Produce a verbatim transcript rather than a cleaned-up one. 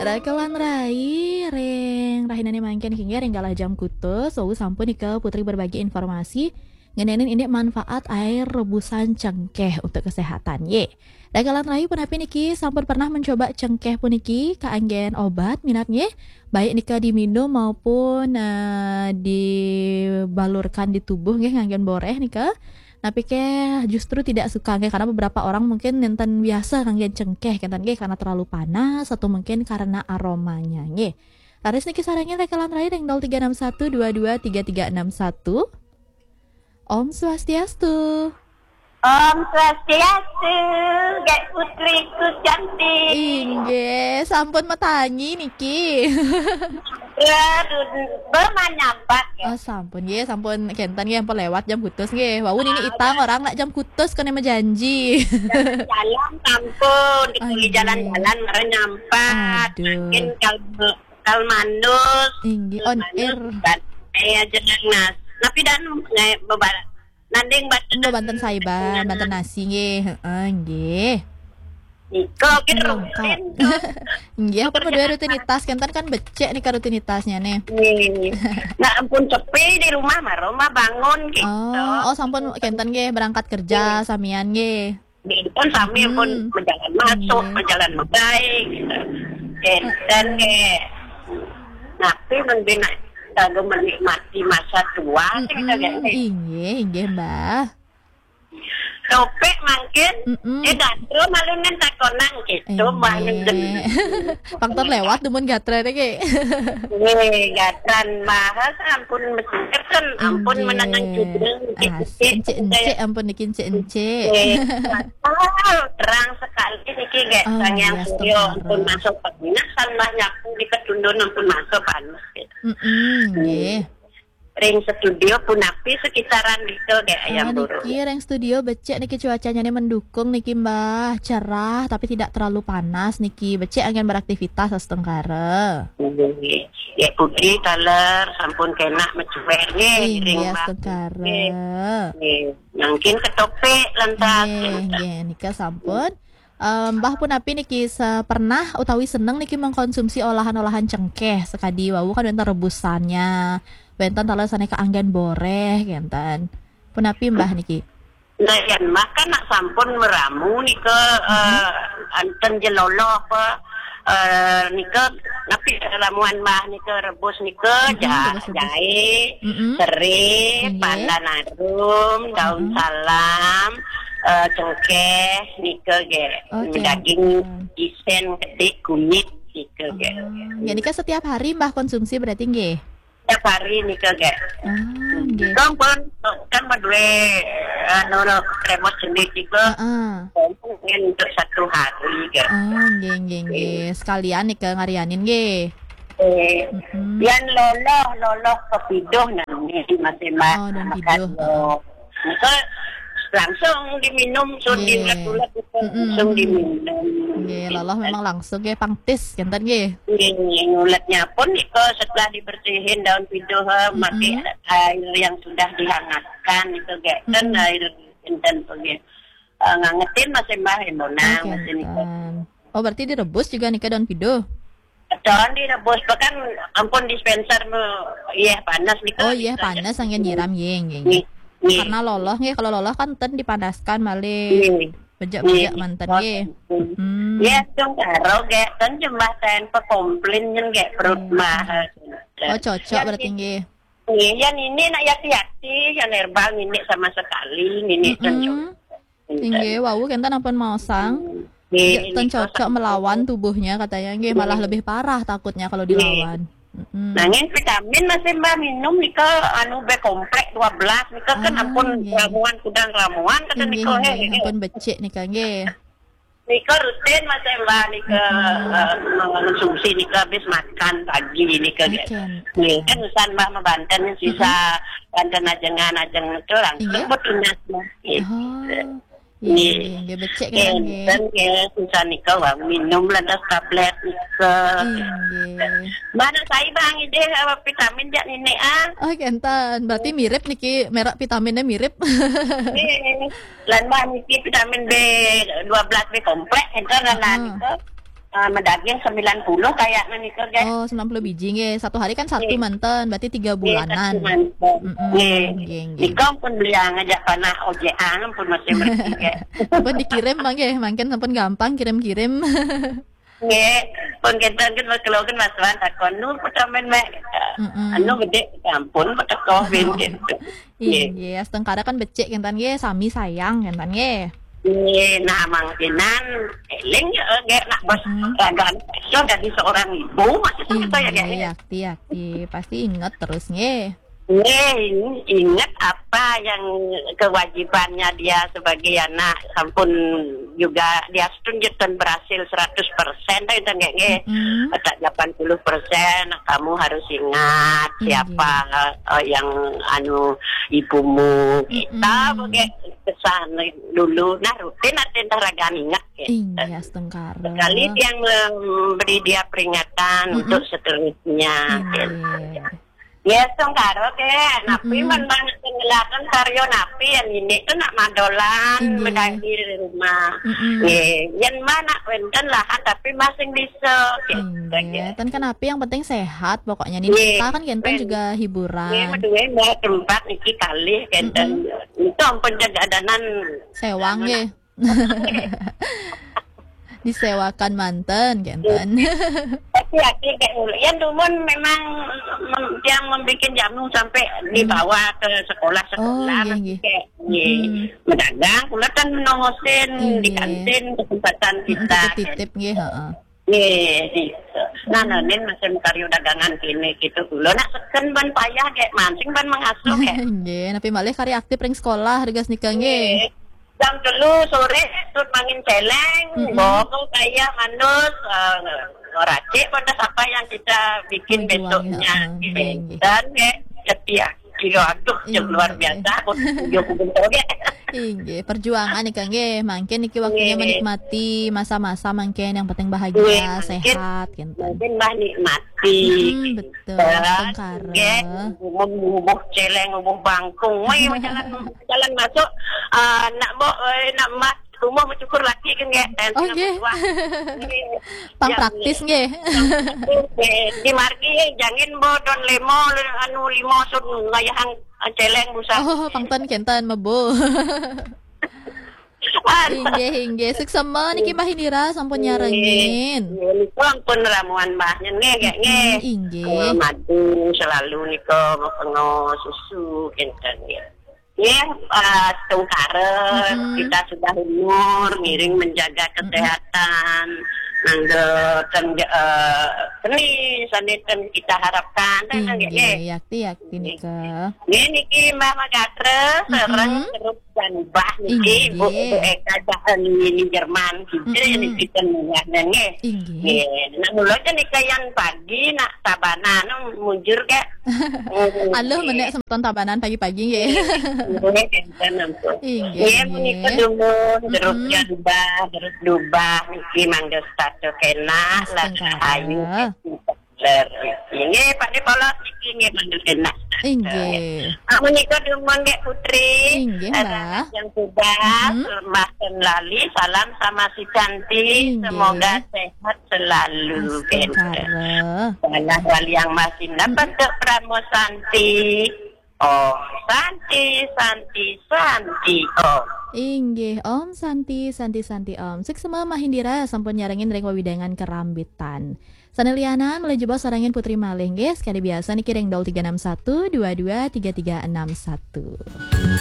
Rakelan rai, ring rahinane mangkin niki nggih, ring galah jam kutus, wau sampun nika Putri berbagi informasi ngenenin indik manfaat air rebusan cengkeh untuk kesehatan, ye. Rakelan rai, punapi niki sampun pernah mencoba cengkeh puniki kaanggen obat minab nggih, baik nika diminum maupun, eh, dibalurkan di tubuh nggih nganggen boreh nika. Napi ke justru tidak suka nggih, karena beberapa orang mungkin nenten biasa nganggen cengkeh, kenten nggih, karena terlalu panas atau mungkin karena aromanya nggih. Raris niki sarengin rakelan rai ring nol tiga enam satu dua dua tiga tiga enam satu. Om Swastiastu. Om Swastiastu, Gek Putriku cantik. Inggih, sampun matangi niki. Ya, dun-, bemanyambat, ya. Oh, sampun, nggih, sampun kenten, nggih, ampun lewat jam kutus, nggih. Wau nini itang orang nak jam kutus kena majanji. Jalan sampun, di kuli jalan-jalan, mara nyampat. Aduh. Mungkin kalau, kalau mandus, inggih, on air. Kan, eh, aja nas. Tapi dan, eh, bebar-, nanding banten. Enggak banten saiba, banten nasi, nggih. Heeh, nggih. Iko, kita rutin. Nggih, apa kedua rutinitas, kenten kan becek nika rutinitasnya nih. Nggih. Nah, ampun sepi di rumah, mara rumah bangun gitu. Oh, oh, sampun kenten nggih berangkat kerja samian nggih. Di depan sami pun berjalan masuk, berjalan baik gitu. Kenten nggih. Tapi mending nak kagum menikmati masa tua sih kita. Inggih, inggih, Mbah. Topik mangkin, eh, gatra malu nen takonang gitu, malu nen. Faktor lewat dumun gatra deh, Ki. Eh, gatran bahas ampun mesir kan, ampun menangan cudeng, encik-encik, ampun niki encik-encik. Eh, ah, terang sekali niki, Gek. Oh, Sang Hyang Surya ampun masuk panas, tambah nyapu di ketundun ampun masuk panas gitu. Mm-mm, nggih. Ring studio punapi sekitaran gitu deh, ayam burung. Niki ring studio becek niki cuacanya nih mendukung niki, Mbah, cerah tapi tidak terlalu panas niki. Becek angin beraktivitas astungkara. Nggih. Ya Putri taler sampun kena mecuer nggih, ring astungkara. Nggih. Mungkin ketopik lantas. Nggih, nggih, nika sampun. Em, Mbah punapi niki se-, pernah utawi seneng niki mengkonsumsi olahan-olahan cengkeh sekadi wau kan wenten rebusannya, wenten taler sane kaanggen boreh, kenten. Punapi Mbah niki? Nah, yen Mbah kan nak sampun meramu nika, eh, anten jeloloh apa, eh, nika napi ramuan Mbah nika rebus nika, ja-, jahe, serai, pandan arum, daun salam, eh, cengkeh, nika ge. Daging isen, kedik, kunyit, nika ge. Jadi kan setiap hari Mbah konsumsi berarti nggih? Setiap hari nika ge. Kan pun, kan madue, anu, kremos jenis nika. Mungkin untuk satu hari ge. Oh, nggih, nggih, nggih. Sekalian nika ngarianin nggih. Eh, yan loloh, loloh pepiduh nami masih mas. Oh, daun piduh. Nika langsung diminum, sun diulet-ulet, langsung diminum. Nggih, loloh memang langsung nggih, pangtis, kenten nggih. Nggih, nguletnya pun nika setelah dibersihin daun piduh, eh, mati air yang sudah dihangatkan itu ge. Ten air enten pergi. Eh, ngangetin masih Mbah, eh, monang masih nika. Oh, berarti direbus juga nika daun piduh? Daun direbus, bahkan ampun dispenser me, iya panas nika. Oh, iya panas, angin nyiram, nggih, nggih, nggih. Karena loloh, nggih, kalau loloh kan ten dipanaskan malih. Bejak-bejak manten, nggih. Ya, dong karo ge, ten jembah ten pekomplain nyen ge perut mah. Oh, cocok berarti, nggih. Nggih, ya nini nak yati-yati, ya herbal nini sama sekali, nini ten. Inggih, wau kenten ampun maosang. Nggih, ten cocok melawan tubuhnya katanya. Nggih, malah lebih parah takutnya kalau dilawan. Nanging vitamin masih Mbah minum nika anu B komplek dua belas nika kan ampun ramuan kudang ramuan kata nika, nggih, ampun becik nika nggih. Nika rutin masih Mbah nika, eh, mengkonsumsi nika habis makan pagi nika. Nggih, kan usan Mbah mabanten sisa banten ajengan ajeng itu langsung betunas Mbah. Oh. Nggih, nggih, becik kenten nggih. Kenten nggih, susah nika wau minum lantas tablet nika. Nggih. Mana saya Bang ide apa vitamin jak nini ah? Oh, kenten. Berarti mirip niki merek vitaminnya mirip. Nggih. Lan Mbah niki vitamin B dua belas B komplek kenten lan nika. Ah, medaging sembilan puluh kayaknya nika, gek. Oh, sembilan puluh biji nggih. Satu hari kan satu manten, berarti tiga bulanan. Nggih, satu manten. Mm-mm, nggih. Nggih, nggih. Nika pun beli ngajak panah ojek ang pun masih mergi, gek. Sampun dikirim mangke, mangkin sampun gampang kirim-kirim. Nggih, pun kita kan kalau kan Mas Wan takon nu petamen mek. Mm-mm. Anu gede ampun peteko gitu. Iya, astungkara kan becik kenten nggih, sami sayang kenten nggih. Nggih, nah mangkinan eling ya, gek nak bos ragan so dari seorang ibu masih sama saya, gek. Iya, yakti, yakti. Pasti inget terus nggih. Nggih, ingat apa yang kewajibannya dia sebagai anak, sampun juga dia setun berhasil seratus persen dah itu nggih, nggih. Mm-mm. Kata delapan puluh persen, kamu harus ingat siapa, eh, yang anu ibumu. Kita pakai pesan dulu, nah rutin artinya ragan ingat ya. Iya, astungkara. Sekali dia memberi dia peringatan untuk seterusnya. Iya. Ya, astungkara ke, napi man banget ngelakan karya napi yang ini tuh nak madolan, bedagi di rumah. Mm-mm. Nggih, yen mah nak wenten lahan tapi masing bisa. Nggih, ten kan api yang penting sehat pokoknya nih. Nggih, kita kan kenten juga hiburan. Nggih, meduwe mbak tempat niki kalih kenten. Mm-mm. Itu ampun jaga adanan. Sewang nggih. Disewakan manten kenten. Tapi akhirnya kayak dulu. Ya dumun memang mem- yang membuat jamu sampai dibawa ke sekolah-sekolah. Oh, iya, iya. Kayak, iya. Medagang, kula kan nongosin di kantin kesempatan kita. Titip-titip nggih, heeh. Nggih, gitu. Nah, nah, nen macam karya dagangan kene gitu. Kula nak seken ban payah kayak mancing ban mengasuh kayak. Nggih, napi malih karya aktif ring sekolah, harga nika nggih. Jam telu sore, tut mangin celeng, bawa kaya manus, eh, racik pada apa yang kita bikin besoknya. Nggih, nggih. Dan nggih, setia. Kira aduh, yang luar biasa. Aku tunjuk pun toge. Inggih, perjuangan nika nggih. Mangkin niki waktunya menikmati masa-masa mangkin yang penting bahagia, sehat, kenten. Mungkin bah nikmati. Mm, betul, astungkara. Nggih, ngubuh celeng, ngubuh bangkung. Woi, jalan jalan masuk, eh, nak mbok, eh, nak mas rumah mencukur laki ke nggih. Oh, nggih. Pang praktis nggih. Di margi jangin bo don lemo anu limo sun ngayahang celeng busa. Oh, pangten kenten mebo. Inggih, inggih. Suksema niki Mbah Indira sampun nyarengin. Nggih, niku ampun ramuan Mbah nggih, nggih. Inggih. Madu selalu nika pengo susu kenten nggih. Nggih, eh, astungkara, kita sudah umur, ngiring menjaga kesehatan, nangge ten, eh, seni, seni ten kita harapkan, ten nggih. Inggih, yakti, yakti nika. Nggih, niki Mbah Magatra, sareng Terup dan Mbah niki, Ibu, Ibu Eka, Jahan, ini Jerman, gitu, niki ten nggih. Inggih. Nggih, nah, mula aja nika yang pagi, nak Tabanan, mujur, Kak. Aluh, menek semeton Tabanan pagi-pagi nggih. Nggih, kenten ampun. Inggih, nggih, menika dumun, jeruk jambah, jeruk dubah, niki mangga setata kena, lah ayu. Astungkara. Inggih, Pak Nipolos niki nggih mangga kena. Inggih. Ah, menika dumun nggih Putri. Inggih, Mbah. Yang sudah, Mbah Lali, salam sama si Cantik. Inggih. Semoga sehat selalu. Astungkara. Tanah wali yang masih dapat Pramo Santi. Om Santi, Santi, Santi, Om. Inggih, Om Santi, Santi, Santi, Om. Suksema Mbah Indira sampun nyarengin ring wewidangan Kerambitan. Sane lianan, malih jebos sarengin Putri malih nggih, sekali biasa niki ring nol tiga enam satu dua dua tiga tiga enam satu.